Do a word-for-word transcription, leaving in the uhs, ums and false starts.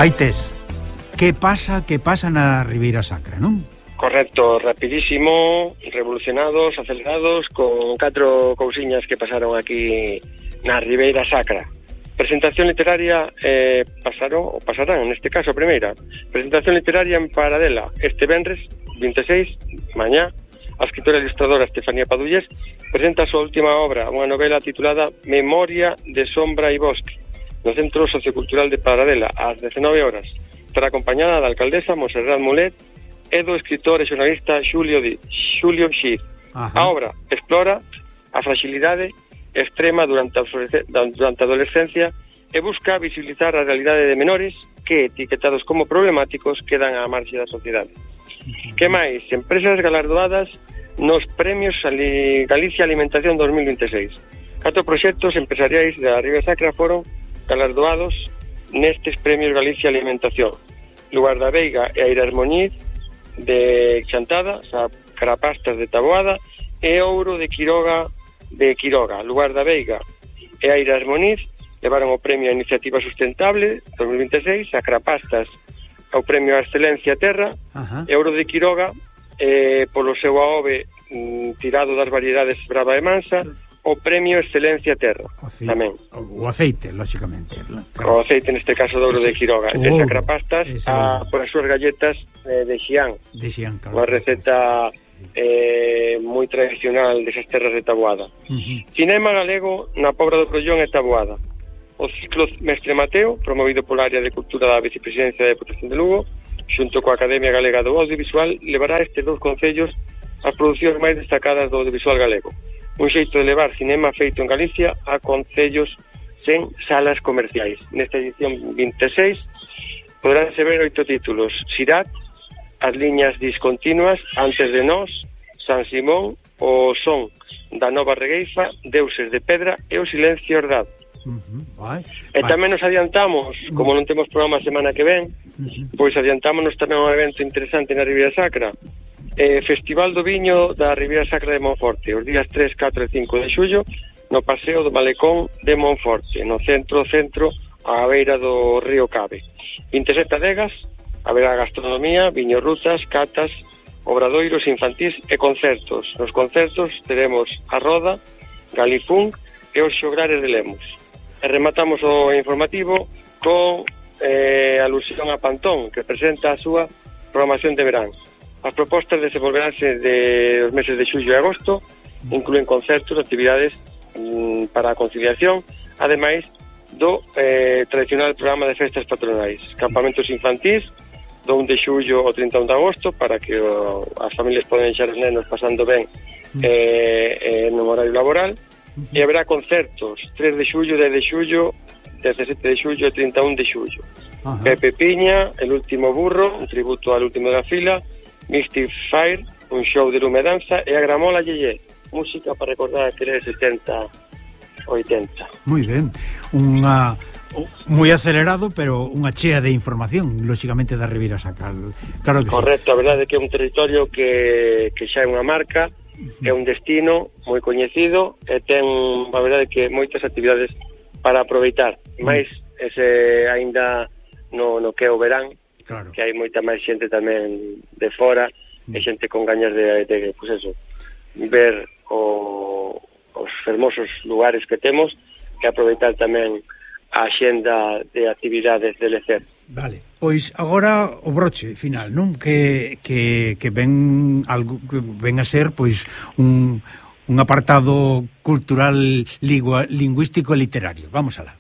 Aí tes. Que pasa, que pasa na Ribeira Sacra, non? Correcto, rapidísimo, revolucionados, acelerados, con catro cousiñas que pasaron aquí na Ribeira Sacra. Presentación literaria eh, pasaron, ou pasarán, neste caso a primeira. Presentación literaria en Paradela, este venres, vinte e seis, mañá. A escritora e ilustradora Estefanía Padullés presenta a súa última obra, unha novela titulada Memoria de Sombra e Bosque, no Centro Sociocultural de Paradela, ás dezenove horas. Estará acompañada da alcaldesa Monserrat Mulet e do escritor e xornalista Xulio, Di, Xulio Xiz. A obra explora a fragilidade extrema durante a, durante a adolescencia e busca visibilizar a realidade de menores que, etiquetados como problemáticos, quedan á marxe da sociedade. Que máis? Empresas galardoadas nos premios Galicia Alimentación dos mil vinte e seis. Catro proxectos empresariais da Ribeira Sacra foron galardoados nestes premios Galicia Alimentación. Lugar da Veiga e Airas Moñiz de Chantada, a Carapastas de Taboada e Ouro de Quiroga de Quiroga. Lugar da Veiga e Airas Moñiz levaron o premio a Iniciativa Sustentable dos mil vinte e seis, a Carapastas ao premio a Excelencia Terra. Ajá. E Ouro de Quiroga eh, polo seu aove mm, tirado das variedades Brava e Mansa, o premio Excelencia Terra. Aceite, tamén. O aceite, lóxicamente. Claro. O aceite, neste caso, de Ouro de Quiroga. E oh, Carapastas a, por as súas galletas eh, de Xián. De Xián, claro. Unha receta eh, moi tradicional desas terras de Taboada. Uh-huh. Cinema galego na Pobra do Crollón e Taboada. O ciclo Mestre Mateo, promovido pola área de cultura da Vicepresidencia de Deputación de Lugo, xunto coa Academia Galega do Audiovisual, levará estes dous concellos as producións máis destacadas do audiovisual galego. Un xeito de levar cinema feito en Galicia a concellos sen salas comerciais. Nesta edición vinte e seis poderánse ver oito títulos: Sirat, As liñas discontinuas, Antes de nós, San Simón, O son da Nova Regueifa, Deuses de Pedra e O silencio hordado. Uh-huh. Vai, e tamén nos adiantamos, como non temos programa a semana que ven, uh-huh. pois adiantámonos tamén un evento interesante na Ribeira Sacra, eh, Festival do Viño da Ribeira Sacra de Monforte, os días tres, catro e cinco de xullo, no Paseo do Malecón de Monforte, no centro centro á beira do río Cabe. vinte e sete adegas, haberá gastronomía, viño rutas, catas, obradoiros infantís e concertos. Nos concertos teremos a Roda, Galifún e os Xograres de Lemos. E rematamos o informativo con eh, alusión a Pantón, que presenta a súa programación de verán. As propostas desenvolveránse de os meses de xullo e agosto, incluen concertos, actividades mm, para a conciliación, ademais do eh, tradicional programa de festas patronais, campamentos infantís do un de xullo ao trinta e un de agosto, para que o, as familias poden deixar os nenos pasando ben eh, eh, no horario laboral. Uh-huh. E haberá concertos tres de xullo, dez de xullo, dezasete de xullo e trinta e un de xullo. Uh-huh. Pepe Piña, El último burro, un tributo al último da fila, Mystic Fire, un show de lume danza, e a Gramola Yeye, música para recordar que era de setenta, oitenta. Moi ben, unha moi acelerado, pero unha chea de información, lóxicamente, da Ribeira Sacra. Claro que correcto, sí. A verdade é que é un territorio que, que xa é unha marca, é un destino moi coñecido e ten, a verdade, que moitas actividades para aproveitar, máis ese aínda no, no que é o verán, claro, que hai moita máis xente tamén de fora, mm. e xente con gañas de, de pues eso, ver o, os fermosos lugares que temos e aproveitar tamén a xenda de actividades de lecer. Vale, pois agora o broche final, non? Que, que, que ven algo que ven a ser pois un, un apartado cultural lingua, lingüístico e literario. Vamos alá.